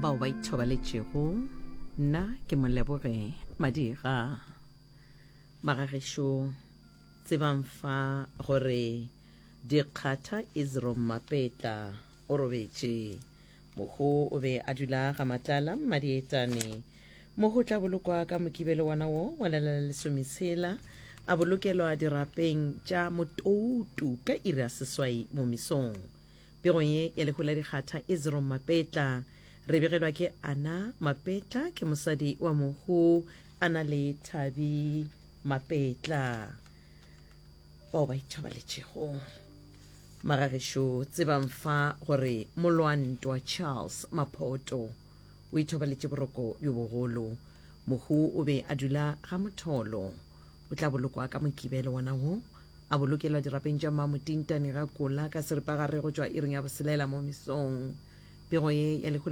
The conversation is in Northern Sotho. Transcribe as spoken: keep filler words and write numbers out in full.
Bao ba ithobaletšego, nna ke Moleboge Madira. Magagešo, tsebang fa gore Dikgatha Isrom Mapetla o robetše. Mohu o be a dula ga Matlala Mmadietane. Mohu o tla bolokwa ka Mokibelo wona wo wa la la lesometshela, a bolokelwa dirapeng tša Motoutu ka iri ya seswai mo mesong. Pegong ye ya lehu la Dikgatha Isrom Mapetla, re begelwa ke Anna Mapetla, ke mosadi wa mohu a na le Thabi Mapetla. Bao ba ithobaletšego. Magagešo, tsebang fa gore molwantwa Charles Maphoto o ithobaletše boroko bjo bogolo. Mohu o be a dula ga Motholo. O tla bolokwa ka Mokibelo wona wo, a bolokelwa dirapeng tša Mmamotintane ga Kola ka seripagare go tšwa iring ya boselela mo mesong. Pego ye ya lehu la